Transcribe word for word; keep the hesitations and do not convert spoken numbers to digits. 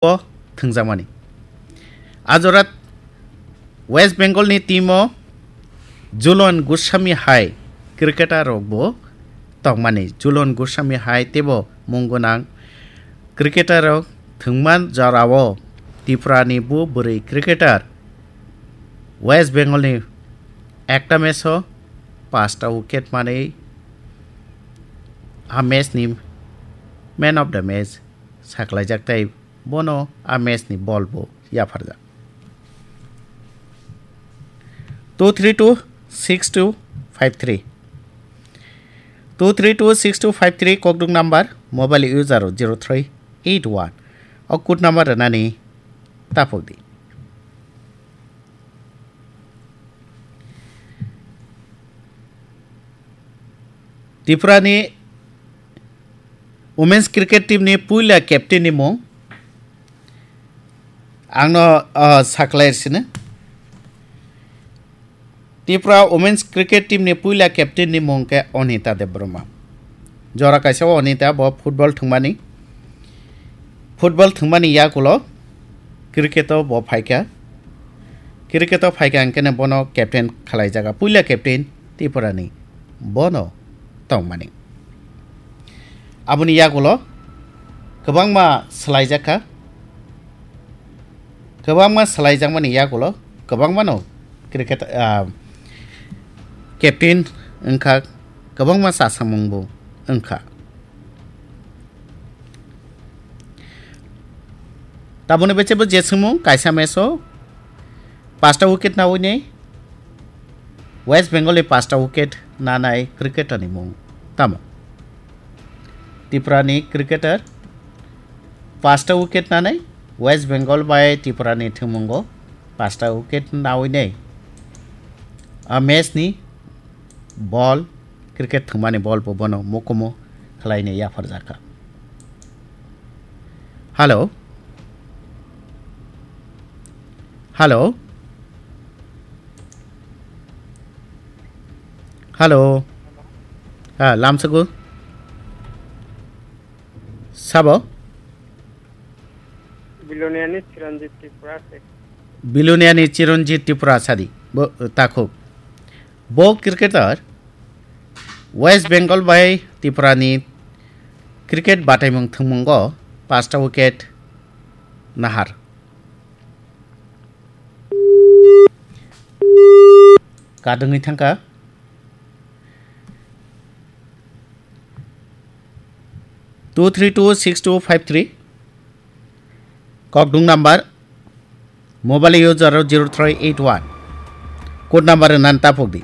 o thwngjakmani. A jora West Bengal ni team o Julian Goswami hai cricketer rok bo tongmani. Julian Goswami hai teibo mung gwnang cricketer rok thwngman jora o Tripura ni bo bwrwi cricketer West Bengal ni ekta match o pasta wicket manwi a match ni man of the match saklaijak tei bono a match ni bol bo yapharjak. Two three two six two five three. Two three two six two five three kokduk number, mobile user zero three eight one. O code number rwnani tapok di. Tripura ni women's cricket team ni puila captain ni mung ang no, ah, saklai sini. Tripura women's cricket team ni puila captain ni mung ke Onita Debbarma. Jora kaisa o Onita bo football thwngmani. Football thwngmani yakulo cricket o bo phaikha. Cricket o phaikha hwnkhe bono captain khalaijaga. Puila captain Tripura ni bono tongmani. Aboni yakulo kwbangma swlaijakha. Kwbangma swlaijakmani yakulo kwbangmano cricket, ah, captain wngkha, kwbangma chasamungbo wngkha. Taboni bechebo je swngmung kaisa match o pasta wicket nawi nei West Bengal ni pasta wicket nanai cricketer ni mung tamo? Tripura ni cricketer pasta wicket nanai West Bengal bai Tripura ni thwngmungo pasta wicket nawi nei a match ni bol, cricket thwngmani bol bo bono mokomo khlaina yapharjakha. Hello? Hello? Hello? Ha, lamsago? Sabo? Biloniani Chiranjit Tripura se. Biloniani Chiranjit Tripura sadi. Bo, takhuk. Bo cricketer West Bengal bai Tripura ni cricket bataimung thwngmungo pasta wicket nahar. Kadwngwi thangkha. Two three two six two five three. Kokdung number, mobile user zero three eight one. Code number nan tapok di.